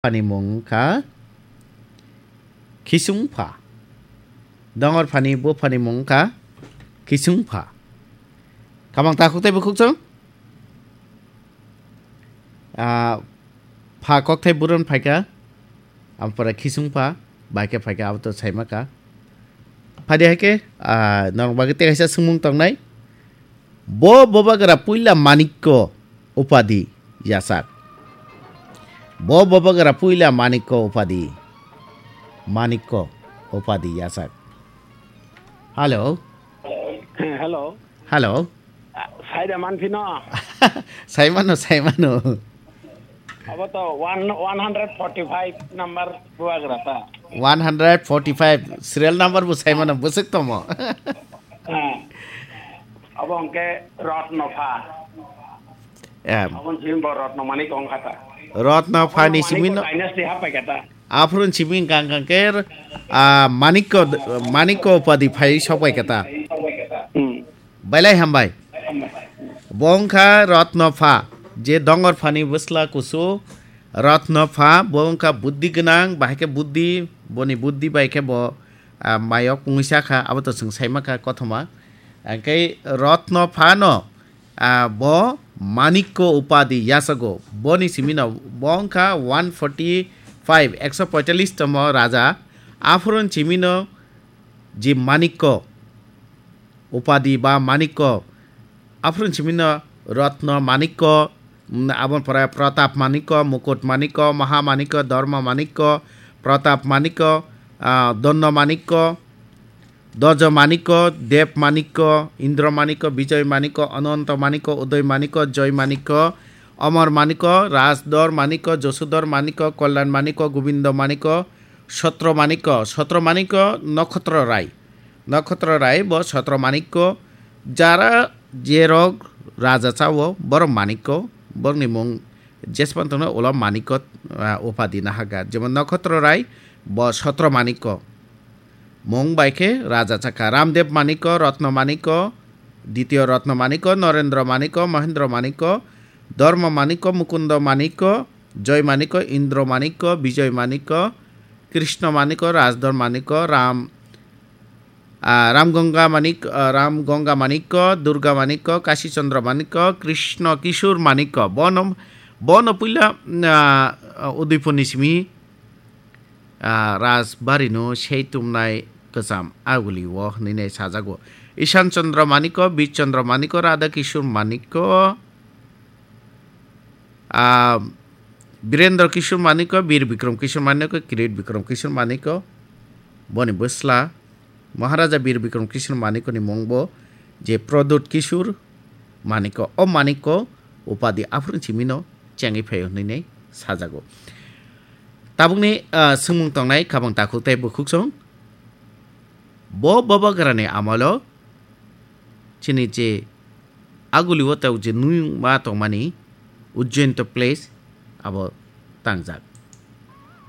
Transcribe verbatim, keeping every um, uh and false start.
Phani mung kha Khisungpha. Dongor phani bo phani mung kha Khisungpha. Kamang takhuk tei bukhuk chwng? Ah, pha kok thai buron phaikha. Ampore Khisungpha bai khe phaikha, abo to saima kha. Phadi hai khe, ah, norok bagwi tei kaisa swngmung tongnai. Bo bobagra puila manikko upadi yachak. Bo bobagra puila manikko upadi. Manikko upadi yachak. Hello. Hello. Hello. Saida manphino. Saimano, saimano. Abo to one, one hundred forty-five number buagra ta. One hundred forty-five serial number bo saimano, bwswk tomo. Abo hwnkhe Rotno pha. Em. Abo simi bo Rotno Manik wng kha ta. Rotno pha ni simi no. Dynasty hapai kha ta. Aphuru simi hwnkha hwnkha khe, ah, Manikko, Manikko upadi phai sok bai kha ta. Hmm. Belai hambai. Bo wngkha Rotno pha, je dongor phani bwsla kusu Rotno pha, bo wngkha buddhi gwnang, bahai khe buddhi, boni buddhi bai khe bo, ah, mayok wngwi cha kha, abo to chwng sai ma kha kothoma. Hwnkhe Rotno pha no, ah, bo Manikko upadi yachago, boni simi no bo wngkha one forty-five, ekso poitallis tomo raja, aphuru simi no je Manikko, upadi ba manikko. Aphuru simi no Rotno Manikko, mm, aboni pore Pratap Manikko, Mukut Manikko, Maha Manikko, Dharma Manikko, Pratap Manikko, ah, Dhanno Manikko, Dojo Manikko, Dev Manikko, Indra Manikko, Bijoy Manikko, Ananta Manikko, Uday Manikko, Joy Manikko, Amar Manikko, Rajdhar Manikko, Jasudhar Manikko, Kalyan Manikko, Gobindo Manikko, Sotro Manikko, Sotro Manikko, Nokhotro Rai. Nokhotro Rai bo Sotro Manikko, jara jerok raja chao, borok Manikko, borokni mung jespan tongno ulo Manikko, ah, upadi nahaga. Jemon Nokhotro Rai bo Sotro Manikko. Mung bai khe raja chakha Ramdev Manikko, Rotno Manikko, Ditiyo Rotno Manikko, Norendra Manikko, Mohendra Manikko, Dharma Manikko, Mukundo Manikko, Joy Manikko, Indra Manikko, Bijoy Manikko, Krishna Manikko, Rajdhar Manikko, Ram, ah, Ram Ganga Manik, ah, Ram Ganga Manikko, Durga Manikko, Kashi Chandra Manikko, Krishna Kishore Manikko. Bono, bono puila, ah, Udaipurni simi, ah, Rajbari no sei tumnai kwcham aguli o hwnwi nai sajago. Ishan Chandra Manikko, Bir Chandra Manikko, Radha Kishore Manikko, ah, Birendra Kishore Manikko, Bir Bikram Kishore Manikko, Kirit Bikram Kishore Manikko, boni bwsla Maharaja Bir Bikram Kishore Manikko ni mung bo je Pradyut Kishore Manikko. O Manikko upadi aphuru simi no chengwi phaio hwnwi nai sajago. Tabukni, ah, swngmung tongnai khabang takhuk tei bukhuk song. Bo bobagrani amolo chini je aguli o tei je nuyung ma tongmani Ujjain to place abo tangjak.